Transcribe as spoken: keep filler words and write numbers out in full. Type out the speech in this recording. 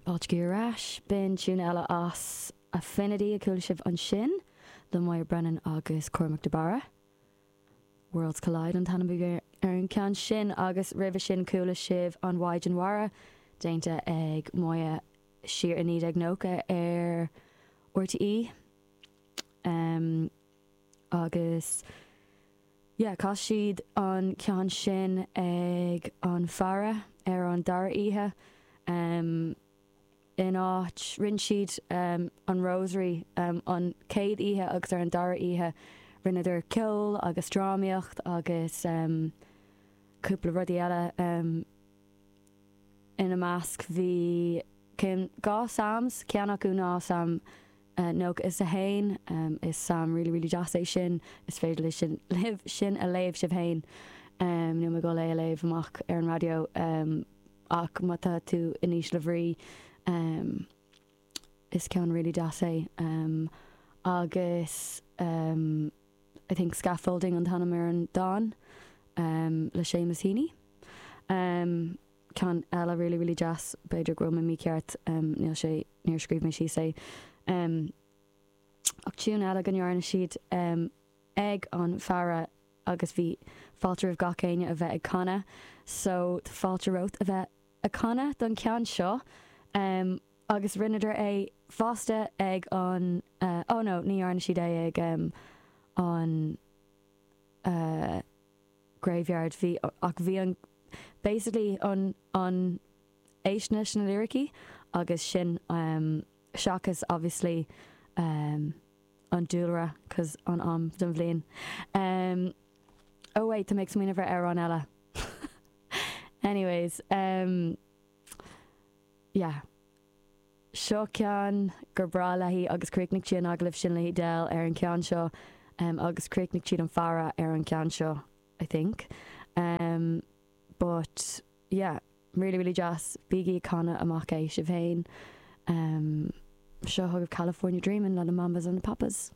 Fáilte ar ais b'in tiún eile as Affinity a chuala sibh ansin le Moya Brennan agus Cormac de Barra. Worlds Collide an t-ainm ar an ceann sin agus roimhe sin chuala sibh an Mhaighdean Mhara déanta ag Moya siar i naoi déag nócha ar RTÉ. Um, agus yeah, chas siad an ceann sin ag an Faire ar an dara oíche. Um, in áit rinne siad um, an Rosary um, an chéad oíche agus ar an dara oíche rinneadar ceol agus drámaíocht agus um, cúpla rudaí eile um, ina measc bhí cinn dhá Psalms ceann acu ná Salm uh, nócha is a haon um, is Salm really really deas é sin is féidir le sin libh sin a léamh sibh féin um, nó go lé a léamh amach ar an radio um, ach má tá tú in ísle bhrí um, is ceann really deas é um, agus um, I think scaffolding an t-ainm ar an dán um, le Seamus Heaney. Um, ceann eile really really deas b'fhéidir go bhfuil mé mícheart um, níl sé níor scríobh mé síos é. Um, ach tiún eile go ndearna siad um, ag an Faire agus bhí fáilte roimh gach éinne a bheith ag canadh, so tá fáilte romhat a bheith ag canadh don ceann seo um, agus rinneadar é fosta ag an uh, oh no ní dhearna siad é ag um, an uh, graveyard bhí ach bhí an basically an an éisnes na lyricí agus sin um, seachas obviously um, an dúlra cos an am den bhliain. Um, oh wait, tá mé ag smaoineamh ar amhrán eile. Anyways, um, yeah. Seo ceann gur breá léi agus chríochnaigh sí an agallamh sin le Edel ar an ceann seo um, agus chríochnaigh siad an Faire ar an ceann seo, I think. Um, but yeah, really really deas bígí ag canadh amach é sibh féin. Um, seo chugaibh California Dreamin' le na Mamas and the Papas.